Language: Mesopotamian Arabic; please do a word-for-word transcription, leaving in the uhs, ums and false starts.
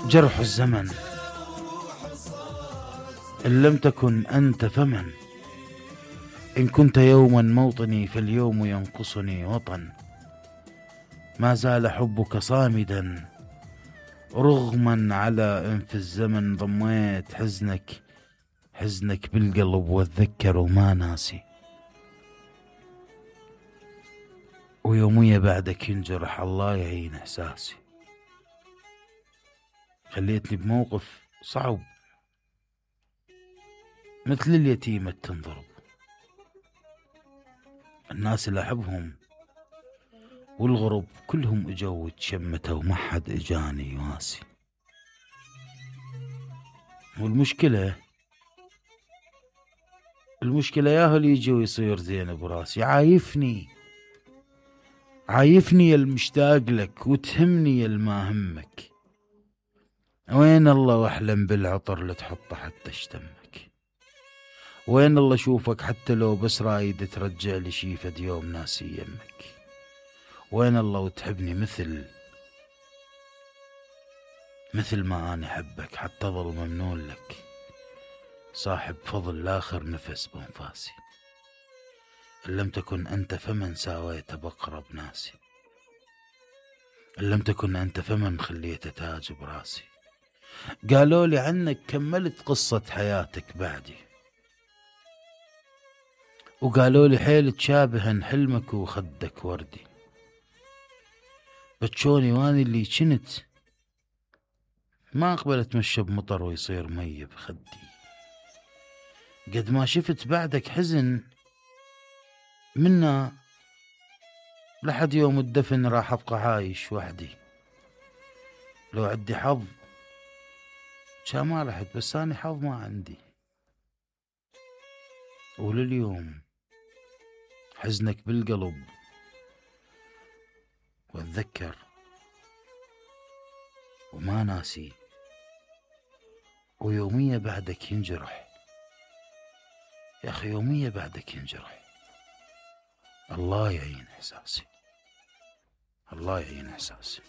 جرح الزمن إن لم تكن أنت فمن. إن كنت يوما موطني فاليوم ينقصني وطن. ما زال حبك صامدا رغما على إن في الزمن ضميت حزنك حزنك بالقلب واتذكر وما ناسي. ويومية بعدك ينجرح الله يعين إحساسي. خليتني بموقف صعب مثل اليتيمة تنضرب. الناس اللي أحبهم والغرب كلهم اجوا وتشمتوا وما حد اجاني يواسي. والمشكلة المشكلة ياهو اللي يجي ويصير زين براسي. عايفني عايفني يا المشتاق لك وتهمني يا الما همك. وين الله واحلم بالعطر اللي تحطه حتى اشتمك. وين الله شوفك حتى لو بس رايد ترجع لي شي فد يوم ناسي يمك. وين الله وتحبني مثل مثل ما أنا أحبك حتى ظل ممنون لك صاحب فضل لاخر نفس بانفاسي. إن لم تكن أنت فمن ساويت بقرب ناسي. إن لم تكن أنت فمن خليت تاج براسي. قالوا لي عنك كملت قصة حياتك بعدي. وقالوا لي حيل تشابهن حلمك وخدك وردي. بتشوني واني اللي كنت ما اقبل اتمشى بمطر ويصير مي بخدي. قد ما شفت بعدك حزن منا لحد يوم الدفن راح ابقى عايش وحدي. لو عندي حظ كان ما رحت بس اني حظ ما عندي. ولليوم حزنك بالقلب واتذكر وما ناسي. ويومية بعدك ينجرح يا أخي يومية بعدك ينجرح. الله يعين إحساسي الله يعين إحساسي.